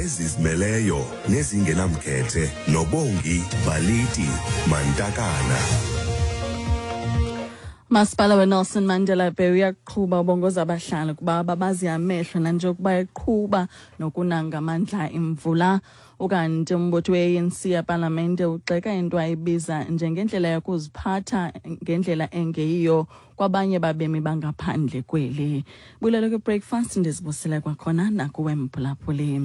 Ezizimeleyo nezingenamkhethe noBongi Baliti Mantakana. Masipala weNelson Mandela Bay uyaqhuba ubongoza abahlali ukuba babazi amehlo nanjengokuba eqhuba nokuna ngamandla imvula. Ukanti umbutho we-ANC epalamente ugxeka into ayibiza njengendlela yokuziphatha ngendlela engeyiyo kwabanye babemi bangaphandle kweli. Bulelo kwi-breakfast, ndizibusile kwakhona nakuwe mphulaphuli.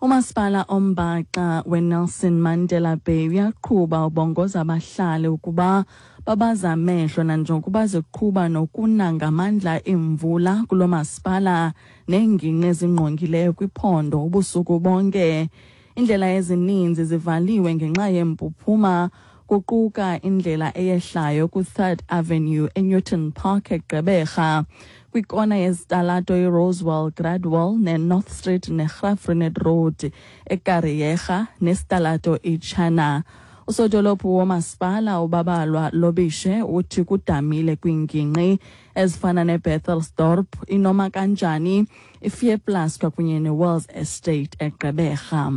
Umasipala ombaxa weNelson Mandela Bay uyaqhuba ubongoza abahlali ukuba babaze amehlo nanjengokuba ziqhuba nokuna ngamandla imvula kulo masipala neengingqi ezingqongileyo kwiphondo ubusuku bonke. Iindlela ezininzi zivaliwe ngenxa yempuphuma, kuquka indlela eyehlayo ku-Third Avenue eNewton Park eGqeberha, kwikona yezitalato iRosewell Gradwell neNorth Street neGraaff-Reinet Road eKariega nesitalato iChana. Usodolophu womasipala uBabalwa Lobishe uthi kudamile kwiingingqi ezifana neBethelsdorp, iNomakanjani, iFearplus kwakunye neWells Estate eGqeberha.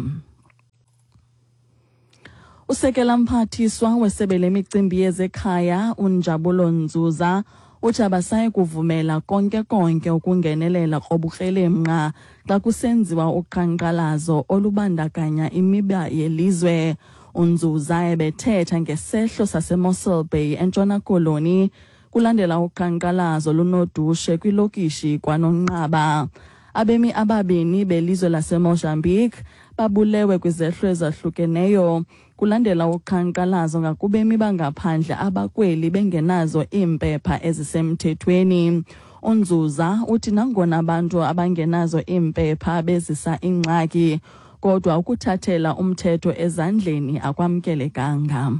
Usekela mphathiswa wesebe lemicimbi yezekhaya uNjabulo Nzuza uthi abasayi kuvumela konke konke ukungenelela kobukrelemnqa xa kusenziwa uqhankqalazo olubandakanya imiba yelizwe. UNzuza ebethetha ngesehlo saseMossel Bay eNtshona Koloni kulandela uqhankqalazo lunodushe kwilokishi kwaNonqaba. Abemi ababini belizwe laseMozambique babulewe kwizehlo ezahlukeneyo kulandela uqhankqalazo ngakubemi bangaphandle abakweli bengenazo iimpepha ezisemthethweni. UNzuza uthi nangona abantu abangenazo iimpepha bezisa ingxaki, kodwa ukuthathela umthetho ezandleni akwamkelekanga.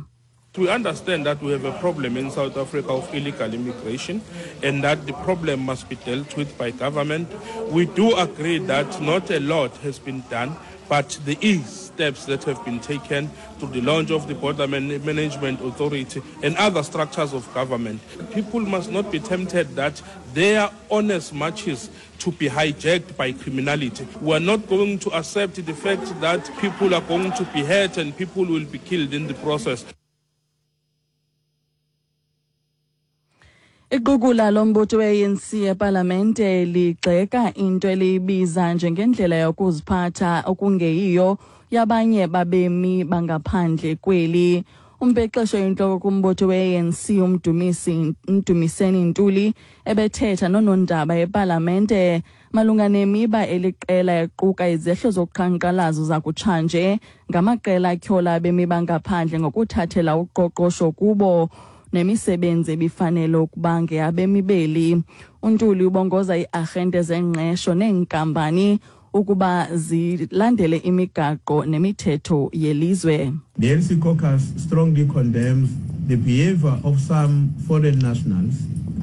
We understand that we have a problem in South Africa of illegal immigration and that the problem must be dealt with by government. We do agree that not a lot has been done, but there is steps that have been taken through the launch of the Border Management Authority and other structures of government. People must not be tempted that their honest marches to be hijacked by criminality. We are not going to accept the fact that people are going to be hurt and people will be killed in the process. Iqukula lombutho we-ANC epalamente ligxeka into eliyibiza njengendlela yokuziphatha okungeyiyo yabanye babemi bangaphandle kweli. Umbhexesho intloko kumbutho we-ANC uMdumisi Mdumiseni Ntuli ebethetha noonondaba epalamente malunga nemiba eliqela equka izehlo zoqhankqalazo zakutshanje ngamaqela atyhola abemi bangaphandle ngokuthathela uqoqosho kubo nemisebenzi ebifanele ukuba ngeyabemi beli. UNtuli ubongoza ii-arhente zengqesho neenkampani ukuba zilandele imigaqo nemithetho yelizwe. The ANC caucus strongly condemns the behavior of some foreign nationals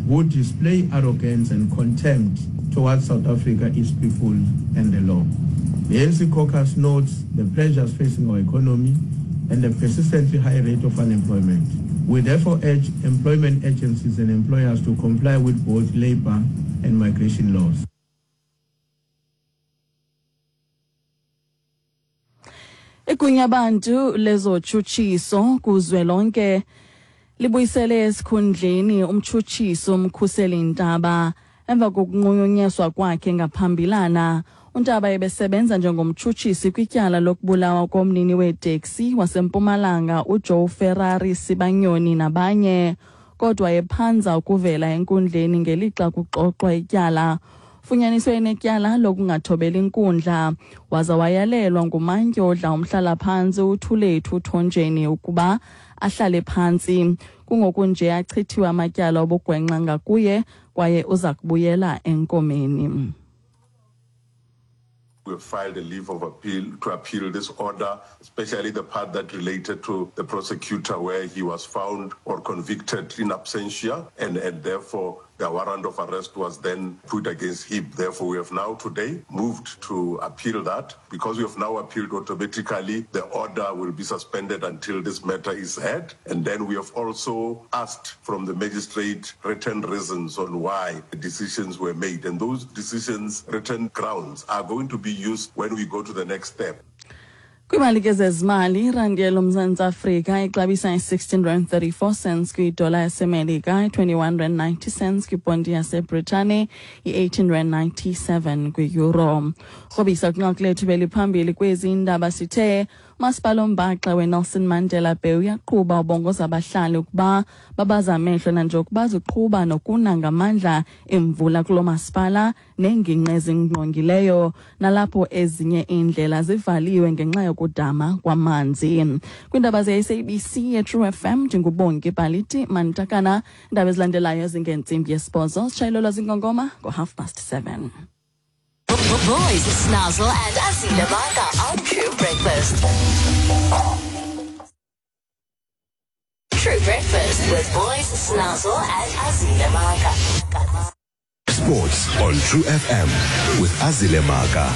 who display arrogance and contempt towards South Africa, its people and the law. The ANC caucus notes the pressures facing our economy and the persistently high rate of unemployment. We therefore urge employment agencies and employers to comply with both labor and migration laws. Igunyabantu lezotshutshiso kuzwelonke libuyisele esikhundleni umtshutshiso uMkhuseli Ntaba emva kokunqunyanyiswa kwakhe ngaphambilana. UNtaba ebesebenza njengomtshutshisi kwityala lokubulawa komnini weeteksi waseMpumalanga uJoe Ferrari Sibanyoni nabanye, kodwa ephanza ukuvela enkundleni ngelixa kuxoxwa ityala. Funyaniswe enetyala lokungathobeli inkundla waza wayalelwa ngumantyi odla umhlalaphantsi uThulethu Thonjeni ukuba ahlale phantsi. Kungokunje achithiwe amatyala obugwenxa ngakuye kwaye uza kubuyela enkomeni. We have filed a leave of appeal to appeal this order, especially the part that related to the prosecutor where he was found or convicted in absentia, and therefore The warrant of arrest was then put against him. Therefore, we have now today moved to appeal that. Because we have now appealed automatically, the order will be suspended until this matter is heard. And then we have also asked from the magistrate written reasons on why the decisions were made. And those decisions, written grounds, are going to be used when we go to the next step. Kwimali ke zezimali, irandi yelomzantsi Afrika ixabisa i-16 rand 34 cents kwidola yaseMelika, i-21 rand 90 cents kwiponti yaseBritane, i-18 rand 97 kwi-euro. Rhobisa kwinqaku lethu beliphambili kwezi ndaba sithe umasipala ombaxa weNelson Mandela Bay uyaqhuba ubongoza abahlali ukuba babaze amehlo nanjengokuba ziqhuba nokuna ngamandla imvula kulo masipala neengingqi ezingqongileyo nalapho ezinye iindlela zivaliwe ngenxa yokudama kwamanzi. Kwiindaba ze-SABC yeTrue FM ndinguBongi Baliti Mantakana. Iindaba ezilandelayo zingentsimbi yesibhozo sitshayelelwa zingongoma ngo-7:30. Boys, Snazzle and Azile Maka on True Breakfast. True Breakfast with Boys, Snazzle and Azile Maka. Sports on True FM with Azile Maka.